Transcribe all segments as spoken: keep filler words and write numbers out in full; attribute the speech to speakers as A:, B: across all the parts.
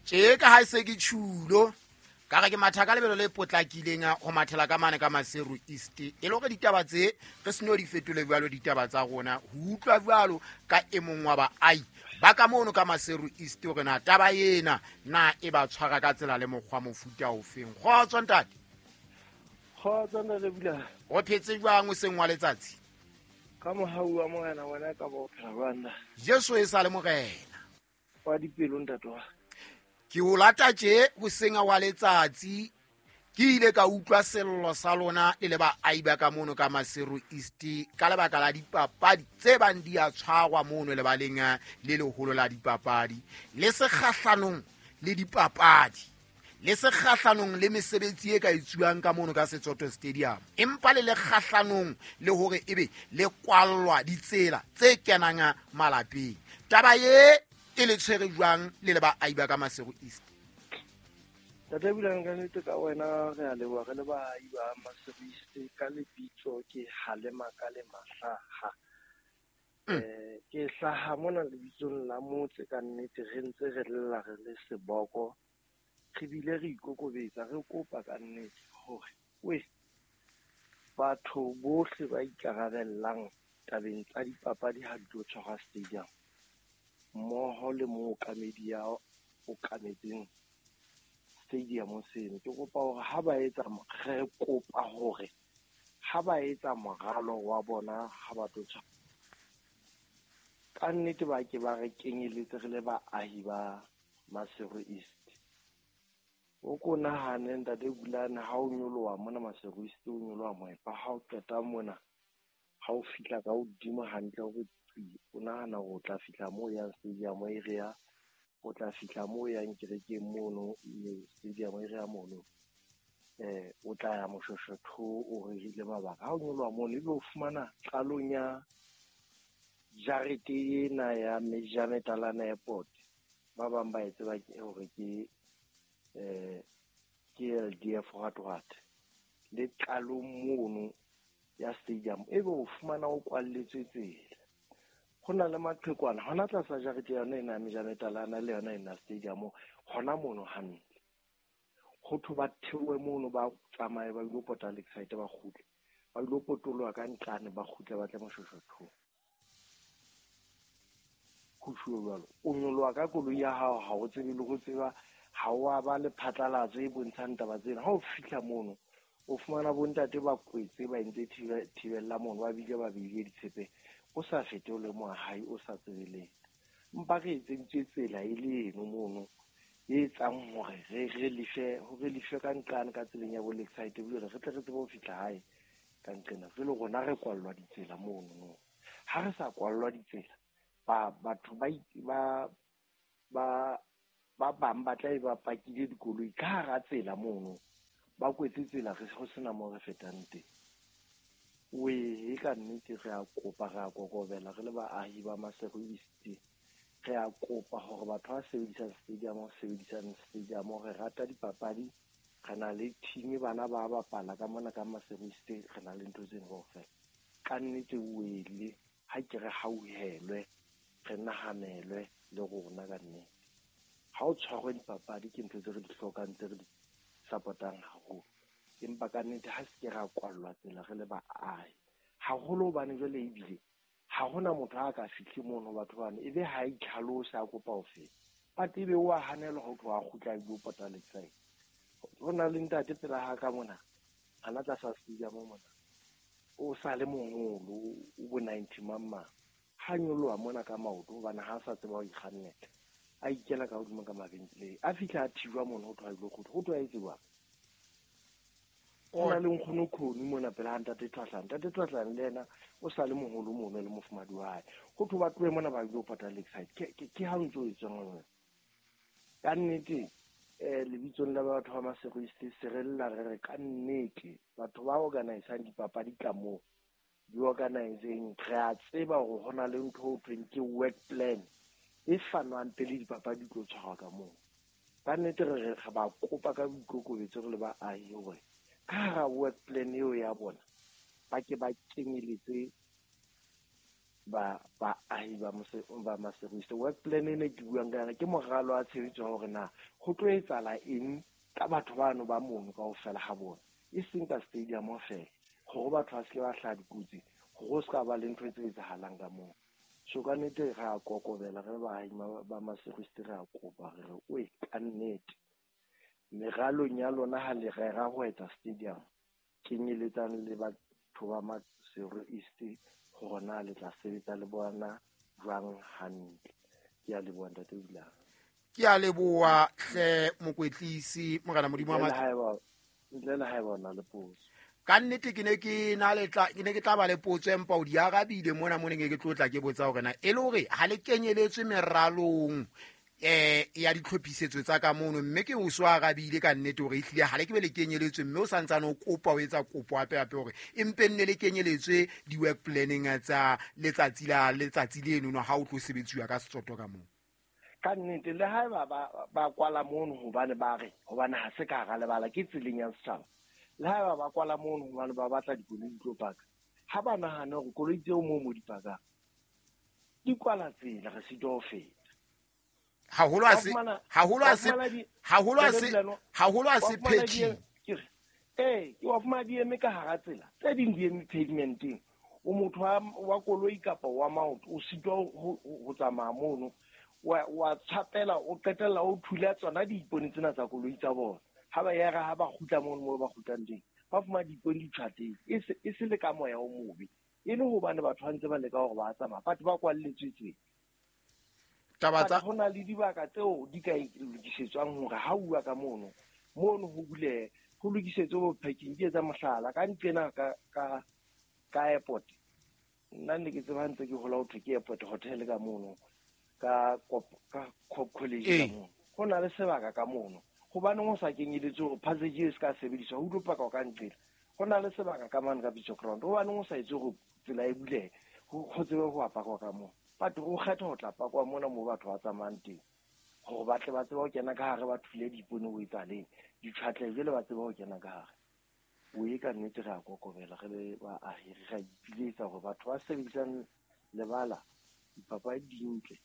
A: Tje ka ha se ke tjhulo ka re ke matha ka lebelo le potlakileng ho mathela ka mane ka Maseru East e le hore ditaba tse re seno di fetole jwalo ditaba tsa rona ho utlwa jwalo ka e mong wa baahi ba ka mono ka Maseru East hore na taba ena na e ba tshwara ka tsela le mokgwa mofuta ofeng. Kgotso ntate.
B: Kgotso ntate Bula.
A: O phetse jwang o seng wa letsatsi?
B: Ka mohau wa Morena wena ka bo phela jwang?
A: Jesu e sa le Morena.
B: Wa dipelo ntate wa.
A: Ke o lata tje hoseng wa letsatsi ke ile ka utlwa sello sa lona le le baahi ba ka mono ka Maseru East ka lebaka la dipapadi tse bang di a tshwarwa mono lebaleng le leholo la dipapadi le sekgahlanong le dipapadi le sekgahlanong le mesebetsi e ka etsuwang ka mono ka Setsoto Stadium empa le le kgahlanong le hore ebe le kwallwa ditsela tse kenang malapeng. Taba ye e le tshwere jwang le le baahi ba ka Maseru East?
B: Tata Bula, ka nnete ka wena re a leboha re le baahi ba Maseru East. Ka lebitso ke Halema ka le Mahlaha. Eh ke hlaha mona lebitsong la motse ka nnete re ntse re lla re le seboko re bile re ikokobetsa re kopa ka nnete hore we batho bohle ba ikarabellang tabeng tsa dipapadi ha di tlo tshwarwa stadium mmoho le mookamedi ya okametseng stadium seno. Ke kopa hore ha ba etsa re kopa hore ha ba etsa moralo wa bona ha ba tlo tshwara ka nnete ba ke ba re kenyeletse re le baahi ba Maseru East. O ko nahane ntate Bulane ha o nyoloha mona Maseru East o nyoloha moepa ha o qeta mona ha o fihla ka hodimo hantle hore o nahana hore o tla fihla moo yang stadium area, o tla fihla moo yang kerekeng mono stadium area mono eh o tla ya Moshoshotho o rerile mabaka. Ha o nyoloha mono ebe o fumana qalong ya jarete ena ya Mejametalana Airport ba bang ba e tseba ke hore ke eh ke L D F what le qalong mono ya stadium ebe o fumana o kwalletswe tsela. Ho na le maqhekwana hona tlasa jarete yona ena ya Mejametalana le yona ena stadium hona mono hantle. Ho thwe ba theohe mono ba tsamaye ba ilo pota Lakeside ba kgutle ba ilo potoloha ka ntlane ba kgutle ba tle Moshoshotho. Ho tjhuwe jwalo o nyoloha ka koloi ya hao ha o tsebe le ho tseba ha o a ba le phatlalatso e bontshang taba tsena. Ha o fihla mono o fumana bontate ba kwetse ba entse thibella mono ba bile ba beile ditshepe o sa fete o le moahi o sa tsebe letho. Mpa re etseditswe tsela e le eno mono e etsang hore re re lefe hore lefe ka nqane ka tseleng ya bo Lakeside ebile re tle re tsebe ho fihla hae ka nqena. Jwale rona re kwallwa ditsela mono no. Ha re sa kwallwa ditsela ba batho ba ba ba ba bang ba tla e ba pakile dikoloi ka hara tsela mono ba kwetse tsela re ho sena moo re fetang teng. We ka nnete re a kopa re a kokobela re le baahi ba Maseru East re a kopa hore batho ba sebedisang stadium sebedisang stadium re rata dipapadi re na le team bana ba bapala ka mona ka Maseru East re na le ntho tseno kaofela. Ka nnete wele ha ke re hauhelwe re nahanelwe le rona ka nnete. Ha o tshwarwe dipapadi ke ntho tse re di hlokang tse re di support-ang haholo empa ka nnete ha se ke ra kwallwa tsela re le baahi haholo hobane jwale ebile ha hona motho a ka fihle mono batho bana ebe ha itlhalose a kopa ho feta but ebe o a hanelwa ho tloha kgutla a ilo pota Lakeside. Ho na le ntate pela ha ka mona hana tlasa stadium mona o sa le moholo o bo ninety mang ha nyoloha mona ka maoto hobane ha sa tseba ho ikgannela a ikela ka hodimo ka mabenkeleng a fihla a thijwa mono ho tloha ilo kgutla ho tloha etse jwang. Ho na le nkgono Khoni mona pela ha ntate Thwahlane ntate Thwahlane le yena o sa le moholo mono le mofumadi wa hae ho thwe ba tlohe mona ba ilo pota Lakeside ke ke ha o ntso etswang wena. Ka nnete eh lebitsong la batho ba Maseru East se re lla re re ka nnete batho ba organisang dipapadi ka moo di organiseng re a tseba hore ho na le ntho ho thweng ke work plan e fanwang pele dipapadi di tlo tshwarwa ka moo. Ka nnete re re ba kopa ka boikokobetso re le baahi hore ka hara work plan eo ya bona ba ke ba kenyeletse ba baahi ba ba Maseru East. Work plan ene ke buang ka yona ke moralo wa tshebetso wa hore na ho tlo etsahala eng ka batho bano ba mono kaofela ha bona, e seng ka stadium feela, hore batho ba se ke ba hlaha dikotsi, hore ho se ka ba le ntho tse etsahalang ka moo. So ka nnete re a kokobela re baahi ba Maseru East, re a kopa re re oe ka nnete meralong ya lona ha le rera ho etsa stadium, kenyeletsang le batho ba Maseru East hore na le tla sebetsa le bona jwang hantle. Ke a leboha ntate Bulane.
A: Ke a leboha hle mokwetlisi morena Modimo wa
B: matla. Ntle le haeba o na le potso.
A: Ka nnete ke ne ke na le tla ke ne ke tla ba le potso empa o di arabile mona mo neng ke tlo tla ke botsa hore na e le hore ha le kenyeletswe meralong eh ya ditlhophisetso tsa ka mono, mme ke o so arabile ka nnete hore ehlile ha le ke be le kenyeletswe, mme o santsane o kopa o etsa kopo hape hape hore empe nne le kenyeletswe di-work planning tsa letsatsi la letsatsi leno no ha o tlo sebetsiwa ka Setsoto ka moo.
B: Ka nnete le haeba ba ba kwala mono hobane ba re hobane ha se ka hara lebala ke tseleng ya setjhaba, le haeba ba kwala mono hobane ba batla dikoloi di tlo paka, ha ba nahane hore koloi tseo moo mo di pakang di kwala tsela, re sitwa ho feta.
A: Haholo a se haholo a se haholo a se haholo a se packing.
B: Eh ke wa fumana di eme ka hara tsela, tse ding di eme pavementeng. O motho wa koloi kapa wa maoto o sitwa ho tsamaya mono, wa wa tshapela o qetella o thula tsona diipone tsena tsa koloi tsa bona. Ha ba yera ha ba kgutla mono moo ba kgutlang teng, ba fumana diipone di tjhateng, e se e se le ka moya o mobe, e le hobane batho ba ntse ba leka hore ba tsamaya, batho ba kwalletswe tsela.
A: Taba tsa
B: ho na le dibaka tseo di ka lokisetswang hore ha uwa ka mono mono ho bulehe, ho lokisetswe bo parking. Ke etsa mohlala ka nqena ka ka ka airport, nna ne ke tseba ntse ke hola ho thwe ke airport hotel ka mono ka ka college ka mono, ho na le sebaka ka mono. Hobaneng ho sa kenyeletse hore passage e se ka sebediswa ho tlo paka ka nqela? Ho na le sebaka ka mane ka Beach Ground, hobaneng ho sa etse hore tsela e bulehe ho tsebe ho apakwa ka mono? Batho o kgetha ho tla pakwa mona moo batho ba tsamayang teng, hore ba tle ba tsebe ho kena ka hare, ba thule diipone ho etsaleng ditjhwatle, jwale ba tsebe ho kena ka hare. O e ka nnete re a kokobela re le baahi, re a ipiletsa hore batho ba sebedisang lebala, dipapadi di ntle,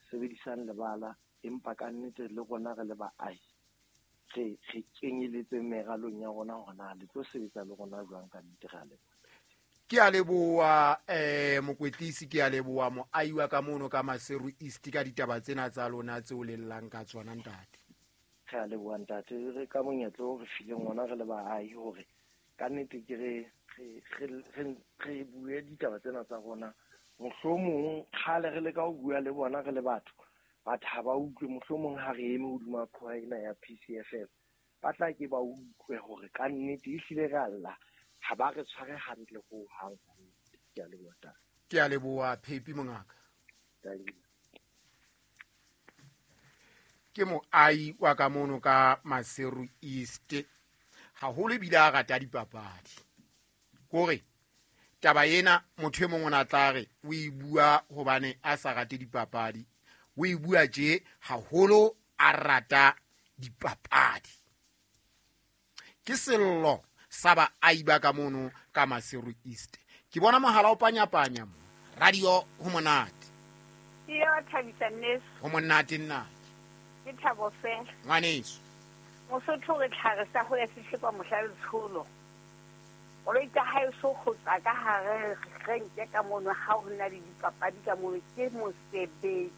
B: sebedisang lebala, empa ka nnete le rona re le baahi re re kenyeletse meralong ya rona hore na le tlo sebetsa le rona jwang. Ka nnete re a leboha.
A: Ke a leboha eh mokwetlisi, ke a leboha moahi wa ka mono ka Maseru East ka ditaba tsena tsa lona tseo le llang ka tsona ntate.
B: Re a leboha ntate, re ka monyetla o re fileng ona re le baahi hore ka nnete ke re re re re bue ditaba tsena tsa rona. Mohlomong kgale re leka ho bua le bona re le batho, batho ha ba utlwe. Mohlomong ha re eme hodima qhoa ena ya P C F L, ba tla ke ba utlwe hore ka nnete ehlile re a lla, ha ba re tshware hantle ho hang. Ke a leboha ntate.
A: Ke a leboha Phepi mongaka. Ke moahi wa ka mono ka Maseru East, haholo ebile a rata dipapadi. Kore taba ena motho e mong o na tla re o e bua hobane a sa rate dipapadi, o e bua tje haholo a rata dipapadi. Ke sello sa baahi ba ka mono ka Maseru East. Ke bona mohala o panyapanya mo radio ho monate.
C: Ke ya thabisa nneso.
A: Ho monate nna.
C: Ke thabo fela.
A: Ngwaneso.
C: Mosotho re tlhare sa ho ya sehlepa mohla letsholo. Koloi tsa hae so ho tswa ka hare renke ka mono ha ho na le dipapadi ka mono ke mosebetsi.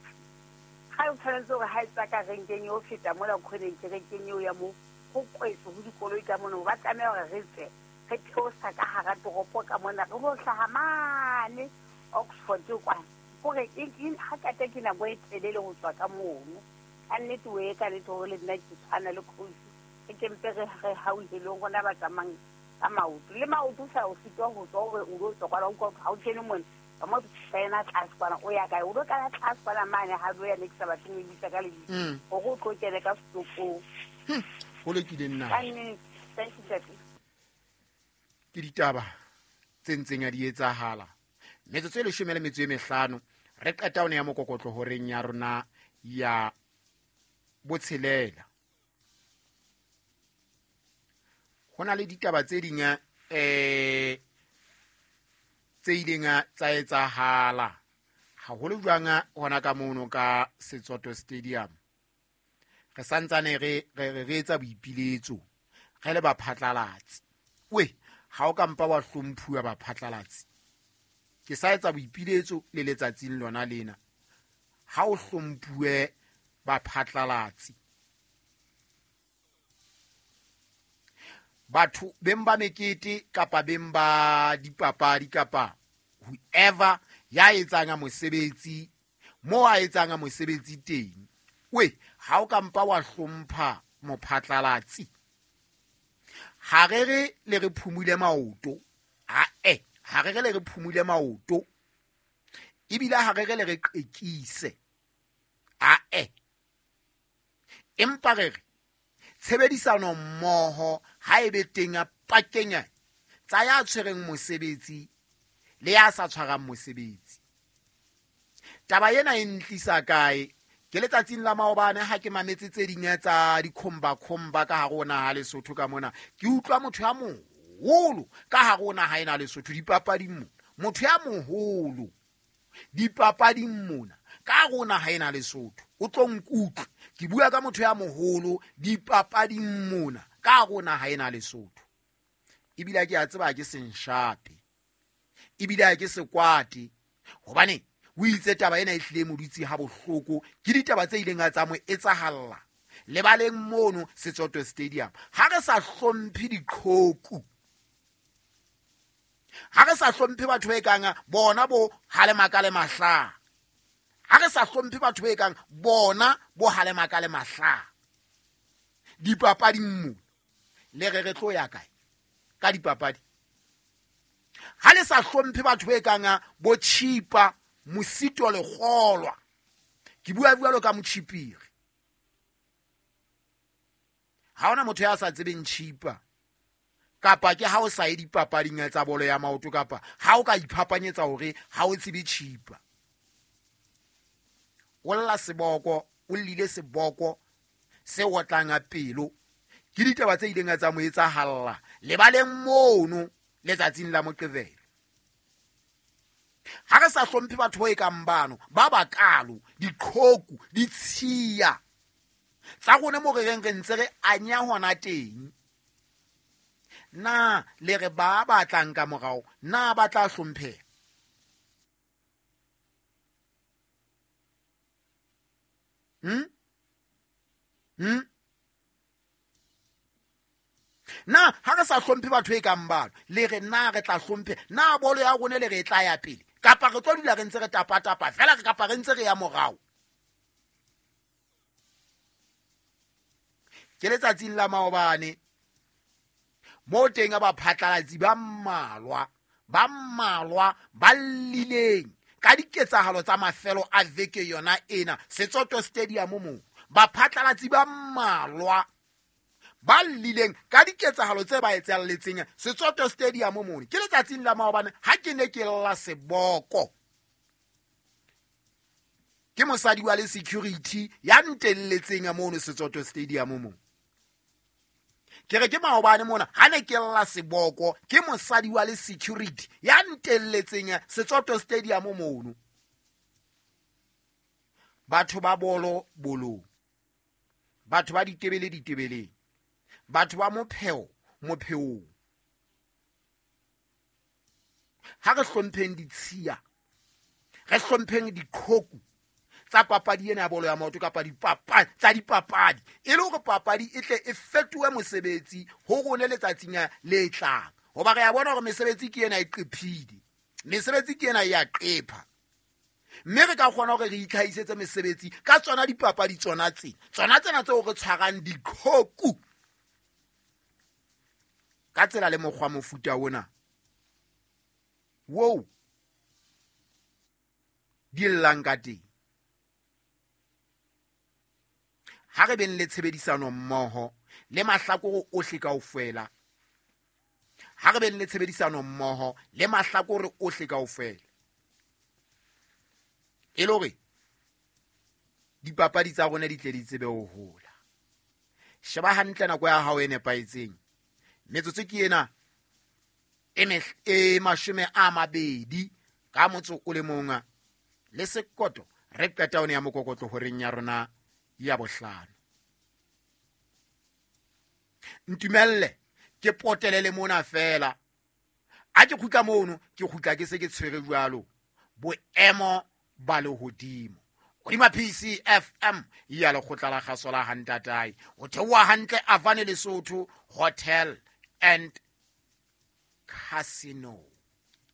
C: Ha o tshwanetse hore ha e tswa ka renkeng eo feta mola khoneng ke renkeng eo ya mo ho kwetse ho dikoloi ka mono, ba tlameha hore re tswe re theosa ka hara toropo ka mona re ho hlaha mane Oxford kwana. Hore e ha kate ke nako e telele ho tswa ka mono. Ka nnete o e ka nnete hore le nna ke tshwana le coach, re ke mpe re re hauhelong rona ba tsamayang ka maoto. Le maoto sa o sitwa ho tswa hore o lo tswa kwana, o ha o kene mona ka mo tsena tlase kwana o ya kae, o lo kana tlase kwana mane ha lo ya ne ke sa batle ho ibitsa ka lebitso hore o tlo kene ka setopong.
A: Ho lokile nna.
C: Ka nnete, thank you ntate.
A: Ke ditaba tse ntseng a di etsahala. Metsotso e leshome le metso e mehlano re qeta ho ne ya mokokotlo horeng ya rona ya botshelela. Ho na le ditaba tse ding eh tse ileng tsa etsahala. Haholo jwang hona ka mono ka Setsoto Stadium. Re santsane re re re etsa boipiletso re le baphatlalatsi. We ha o ka mpa wa hlomphuwa baphatlalatsi. Ke sa etsa boipiletso le letsatsing lona lena. Ha o hlomphuwe baphatlalatsi. Batho beng ba mekete kapa beng ba dipapadi kapa whoever ya etsang mosebetsi mo a etsang mosebetsi teng. We ha o ka mpa wa hlompha mophatlalatsi. Ha re re le re phumule maoto. Ha eh ha re re le re phumule maoto. Ebile ha re re le re qekise. Ha eh. Empa re re tshebedisano mmoho ha ebe teng a pakeng tsa ya tshwereng mosebetsi le ya sa tshwarang mosebetsi. Taba ena e ntlisa kae? Ke letsatsing la maobane ha ke mametse tse ding tsa dikhomba khomba ka hare ho naha Lesotho ka mona. Ke utlwa motho ya moholo ka hare ho naha ena Lesotho dipapading mona. Motho ya moholo dipapading mona ka hare ho naha ena Lesotho. O tlo nkutlwe. Ke bua ka motho ya moholo dipapading mona ka hare ho naha ena Lesotho. Ebile ke a tseba ke senshape. Ebile ke sekwate. Hobane o itse taba ena e hlile mo dutse ha bohloko ke ditaba tse ileng tsa mo etsahalla lebaleng mono Setsoto Stadium. Ha re sa hlomphe diqhoku, ha re sa hlomphe batho ba kang bona bo Halemaka le Mahla, ha re sa hlomphe batho ba kang bona bo Halemaka le Mahla dipapading mo le re re tlo ya kae ka dipapadi? Ha le sa hlomphe batho ba kang bo Chipa Mosito le kgolwa, ke bua bua ka Motshipiri. Ha ona motho ya sa tsebeng Chipa kapa ke ha o sa ye dipapading tsa bolo ya maoto kapa ha o ka iphapanyetsa hore ha o tsebe Chipa. O lla seboko, o llile seboko se otlang a pelo. Ke ditaba tse ileng tsa mo etsahalla lebaleng mono letsatsing la Moqebelo. Ha re sa hlomphe batho ba kang bano ba bakalo diqhoku ditshiya tsa rona mo re reng re ntse re anya hona teng, na le re ba batlang ka morao na ba tla hlompheha? Hmm? Hmm? Na ha re sa hlomphe batho e kang bano le re na re tla hlomphe na bolo ya rona le re tla ya pele kapa re tlo dula re ntse re tapa-tapa fela kapa re ntse re ya morao? Ke letsatsing la maobane mo teng ba phatlalatsi ba mmalwa ba mmalwa ba llileng ka diketsahalo tsa mafelo a veke yona ena Setsoto Stadium mo. Ba phatlalatsi ba mmalwa ba llileng ka diketsahalo tse ba etsahalletseng Setsoto Stadium mo. Ke letsatsing la maobane ha ke ne ke lla seboko ke mosadi wa le security ya ntelletseng mono Setsoto Stadium mo. Ke re ke maobane mona ha ne ke lla seboko ke mosadi wa le security ya ntelletseng Setsoto Stadium mono. Batho ba bolo bolong, batho ba ditebele ditebeleng, batho ba mopheo mopheong. Ha re hlompheng ditshiya, re hlompheng diqhoku tsa papadi ena ya bolo ya maoto kapa dipapadi tsa dipapadi e le hore papadi e tle e fetohe mosebetsi ho rona letsatsing le tlang. Hoba re a bona hore mesebetsi ke ena e qephile, mesebetsi ke ena e a qepha, mme re ka kgona hore re itlhahisetse mesebetsi ka tsona dipapadi tsona tsena tsona tsena tseo re tshwarang diqhoku ka tsela le mokgwa mofuta ona wo di llang ka teng. Ha re beng le tshebedisano mmoho le mahlakore ohle kaofela. Ha re beng le tshebedisano mmoho le mahlakore ohle kaofela. E le hore dipapadi tsa rona di tle di tsebe ho hola. Sheba hantle nako ya hao e nepahetseng. Metsotso ke ena e e mashome a mabedi ka motso o le mong le sekoto re qeta one ya mokokotlo horeng ya rona ya bohlano. Ntumelle ke potelele mona fela a ke khutla mono ke khutla ke se ke tshwere jwalo boemo ba lehodimo hodima P C F M ya lekgotla la kgaso la Hantatai o theoha hantle Avane Lesotho Hotel and Casino.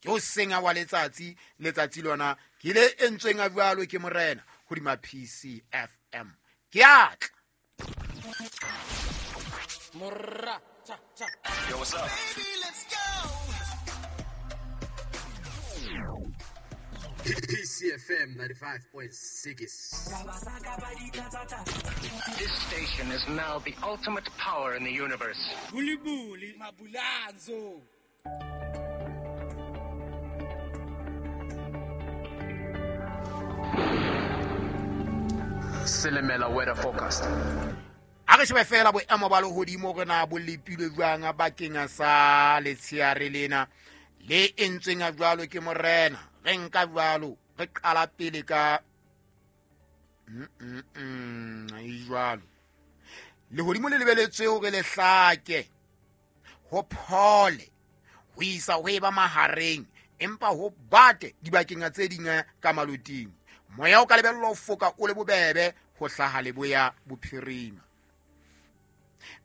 A: Ke o senga wa letsatsi letsatsi lona ke le entsweng a jwalo ke morena hodima P C F M. Ke atla
D: Morra cha cha.
E: Yo, what's up?
D: Baby, let's go.
F: P C F M ninety-five point six.
E: This station is now the ultimate power in the universe.
D: Buli buli mabulanzo.
F: Selemela weather forecast.
A: A re shebe fela boemo ba lehodimo re na bo lepilwe jwang bakeng sa letsheare lena le entsweng a jwalo ke morena. Re nka jwalo re qala pele ka mm mm mm jwalo lehodimo le lebeletswe hore le hlake ho phole ho isa ho eba mahareng empa ho bate dibakeng tse ding ka maloting. Moya o ka lebellwa ho foka o le bobebe ho hlaha leboya bophirima.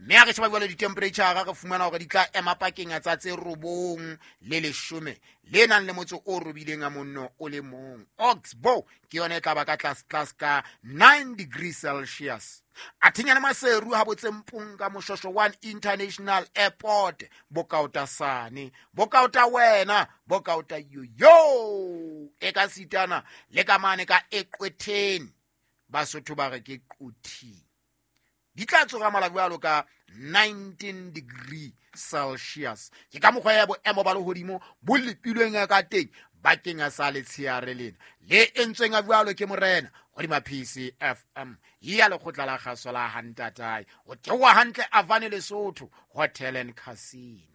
A: Mme ha re sheba jwalo di-temperature re fumana hore di tla ema pakeng tsa tse robong le leshome le nang le motso o robileng a monno o le mong. Oxbow ke yona e tla ba ka tlase tlase ka nine degrees Celsius. Athinyana Maseru ha botsempong ka Moshosho one International Airport bokaotasane bokaota wena bokaota yo e ka sitana le ka mane ka eqwetheni Basotho ba re ke quthi di tla tsoga mala jwalo ka nineteen degree Celsius. Ke ka mokgwa ya boemo ba lehodimo bo lepilweng ka teng bakeng sa letsheare lena le entsweng a jwalo ke morena hodima P C F M ya lekgotla la kgaso la Hantatai o theoha hantle Avane Lesotho Hotel and Casino.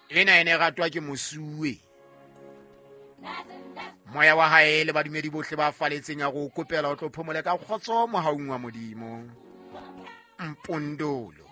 A: Ena ene ratwa ke mosuwe moya wa hae le badumedi bohle ba faletseng ya go kopela o tlo phomole ka kgotso mohaung wa Modimo. Mpondolo.